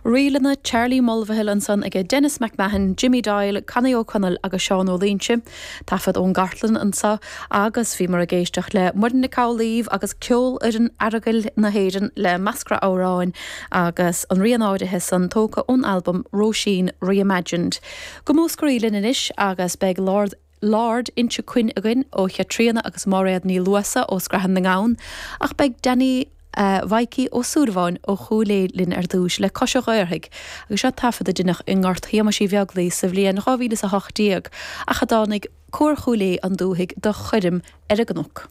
Ríleanna Charlie Mulvihill ansan aige Denis McMahon, Jimmy Doyle, Connie Ó Conaill agus Seán Ó Loingsigh. Taifead ón gcartlann anso agus bhíomar ag éisteacht le Muireann Nic Amhlaoibh agus Ceolfhoireann Aireagail na hÉireann le Meascra Amhráin agus an rian áirithe san tógtha ón albam Róisín Reimagined. Go Múscraí linn anois agus beidh Lord Lord Inse Cuinn againn ó Chaitríona agus Máiréad Ní Luasa ó Scrathan na nGamhan, ach beidh Danny Mhaidhcí Ó Súilleabháin ó Chúil Aodha linn ar dtúis le Cois an Ghaorthaidh agus seo taifead a deineadh i nGort Shéamais Uí Bheaglaoi sa bhliain 2018 ach a dtáinig Cór Chúil Aodha an Dúthaigh do choirm ar an gcnoc.